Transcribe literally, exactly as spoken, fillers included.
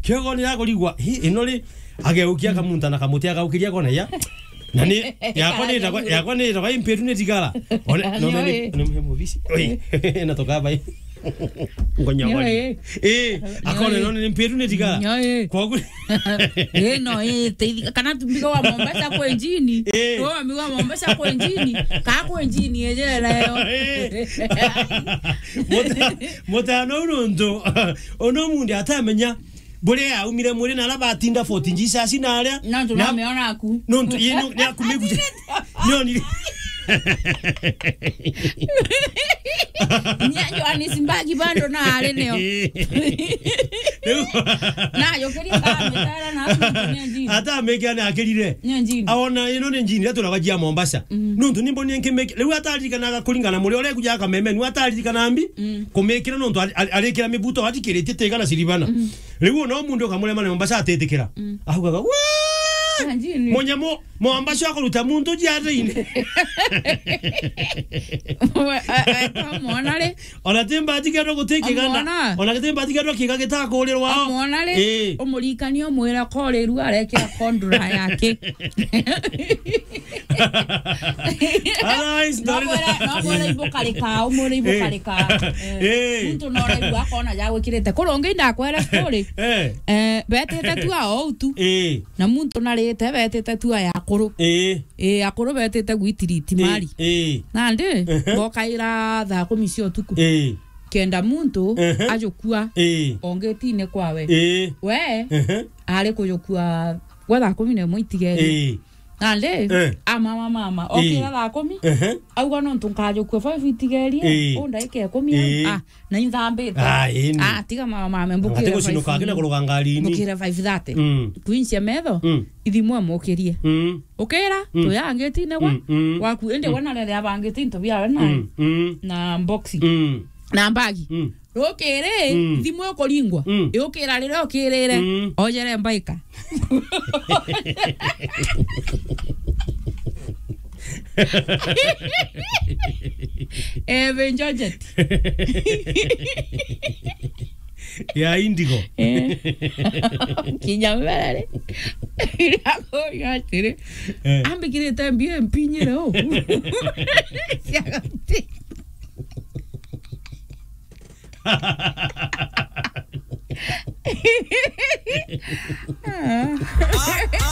Kiogoni ya kurigwa, hi, ino ri, ageukia kamunta na kamuti agaukiria kona ya. Na ni, yakwa ni itagwa, yakwa ni itagwa impiru ni tigara. One, no, no, ni, ni mubisi. Oi, na tukaba. Ngonya Nyo, wali. Eh. Eh, akone no ni mpiru ni tigara. Nyo, eh. Kwa gu- Eh, no, eh, teithi-, kana tumbiga wa Mombasa kwa njini. Eh. Wa miga wa Mombasa kwa njini. Ka kwa njini, ejera yo. Eh. Muta-, mutano nuntu. Ono mundi atamenya. Buria aumire mwiri na ala batinda Fort Jesus na aria. Nontu na nameona aku. Nontu, ye, no, ni aku migu-, nionire. Nya Johannesburg bando na ari nio. Riu. Na yo kiri ka mitara na asu ni njini. Ata ameke ana akirire. Ni njini. Aona ino ni njini, ria turabajia Mombasa. Mm. Nontu ni mboni nkimeke. Riu ataririkanaga kuringana muri uria kuja kameme, ni ataririkana mbi. Mm. Kumikira nontu ari-, ari-, arikira mibuto atikiritie tiga na siribana. Mm. Riu ona o muntu ukamurema na Mombasa atitikira. Mm. Augaga, "Wee! Na njini. Munyamu, Mombasa akuruta muntu jiathiini." We, e, e, twamwona ri? Ona ti mbati kendo guti kiganda. Amwona? Ona ti mbati kendo kiga gitakurirwa. Amwona ri? Ii. Umurikanie umwire koriru arekira kondura yake. Otherwise, no ndori- mwere, no mwere ibukarika, umwire ibukarika. Eh. Eh. Muntu no raigua akona ja gwikirite. Kuri ungi ndakwere story. Eh. Eh, betite tu ao tu. Eh. Na muntu narite betite tu aya akuru. Eh. Eh, akuru betite gwitiriti mari. Eh. Nandi, ehe, bokaira thaa kumi cia utuku. Eh. Kenda muntu, ehe, ajukua, eh, ongitine kwawe. Eh. We, ehe, ari kujukua gwa thaa kumi na imwe itigeri. Eh. Nandi, eh, amama mama, eh, okira thaa kumi, ehe, auga nontu nkajukua five itigerie, eh, o ndagika ikumi, eh, ah, na inthambite. Ah, ii ni. Ah, tiga mama mama, mbukire. Ati gucinuka akina five. Kuruga ngarini. Mbukire five thirty. Mm. Kuincia metho, mm, ithimwe mukirie. Mm. Ukira, mm, tuya angitine gwa, mm, mm, waku, indi, mm, we na rere abangite into biawe na, mm, mm, na boxi. Mm. Na mbagi. Mm. Rukiri, mm, thimu ikuringwa. Mm. Yukira riria ukirire, mm, ojere mbaika. Ebe Georgette. Ya Indigo. Eh. Kinya mbere. Akoiga atiri. Eh. Ambikirite mbio mpinyire u. Ciagati. Ah.